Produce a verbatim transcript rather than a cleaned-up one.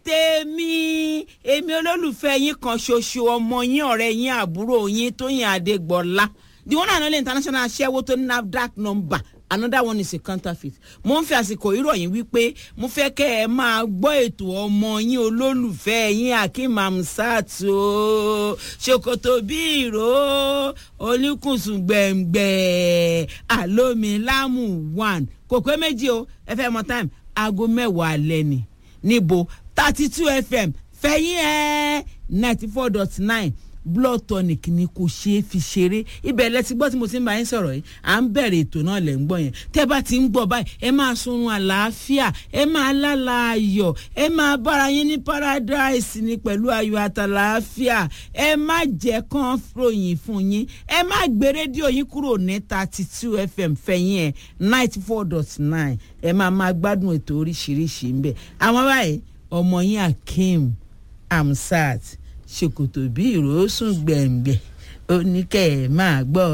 Tèmi, èmi olólùfẹ́ yín kan ṣoṣo, ọmọ yín, ọ̀rẹ́ yín, àbúrò yín, Tóyìn Adégbọlá, the one and only international aṣẹ́wó tó ní NAFDAC number, another one is a counterfeit. Mo ń fi àsìkò ìròyìn wípé mo fẹ́ kẹ́ ẹ máa gbọ́ ètò ọmọ yín, olólùfẹ́ yín, Akeem Amsat o, ṣòkòtò bí ìró oníkùnsùn gbẹ̀ngbẹ̀ àlómi lámù one, kò pé méjì o. Ẹ fẹ́ mọ time? Aago mẹ́wàá alẹ́ ni. Níbo? Thirty two F M fẹ̀yìn ẹ̀, ninety four dot nine. Blood tonic ni, kò ṣeé fi ṣeré. Ibẹ̀ lẹ ti gbọ́ tí mo ti ń bá yín sọ̀rọ̀ yìí. À ń bẹ̀rẹ̀ ètò náà lẹ̀ ń gbọ́ yẹn. Tẹ́ bá ti ń gbọ́ báyìí, ẹ máa sunrun àlàáfíà, ẹ máa lálà ayọ̀, ẹ máa bára yín ní paradise ní pẹ̀lú ayọ̀ àtàlàáfíà. Ẹ má jẹ́ kán ròyìn fún yín. Ẹ má gbé rédíò yín kúrò ní thirty two F M fẹ̀yìn ẹ̀, ninety four dot nine. Ẹ máa máa gbádùn ètò oríṣiríṣi ń bẹ̀. Àwọn báyìí, ọmọ yín Akeem Amsat, ṣòkòtò bí ìró sùn gbẹ̀ngbẹ̀, ó ní kẹ́ ẹ̀ máa gbọ́.